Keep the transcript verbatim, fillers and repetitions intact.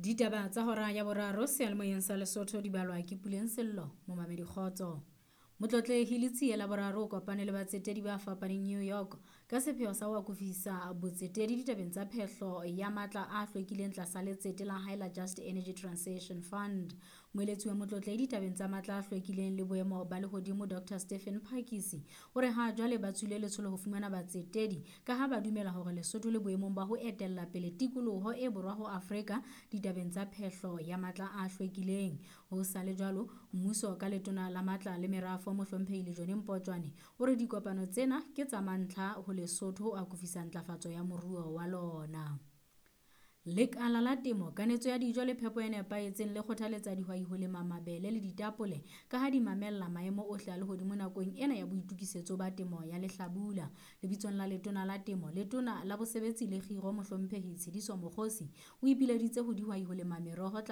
Ditaba tsa hora ya boraro seyalemoyeng sa Lesotho di balwa ke Puleng Sello, momamedi kgotso. Motlotlehi Letsie la boraro o kopane le batsetedi ba fapaneng New York ka sepheo sa ho akofisa botsetedi ditabeng tsa phehlo ya matla a hlwekileng tlasa letsete la hae la Just Energy Transition Fund. Moeletsi wa motlotlehi ditabeng tsa matla a hlwekileng le boemo ba lehodimo Doctor Stephen Phakisi o re ha jwale ba tswile letsholo ho fumana batsetedi ka ha ba dumela hore Lesotho le boemong ba ho etella pele tikoloho e borwa ho Afrika ditabeng tsa phehlo ya matla a hlwekileng. Ho sa le jwalo, mmuso ka letona la matla le merafo mohlomphehi Lejone Mpotjwane o re dikopano tsena ke tsa mantlha ho Lesotho ho akofisa ntlafatso ya moruo wa lona. Lekala la temo, kanetso ya dijo le phepo e nepahetseng le kgothaletsa dihwai ho lema mabele le ditapole ka ha di mamella maemo ohle a lehodimo nakong ena ya boitokisetso ba temo ya lehlabula. Lebitsong la letona la temo, letona la bosebetsi le kgiro mohlomphehi Tshediso Mokgosi o ipileditse ho dihwai ho lema meroho tla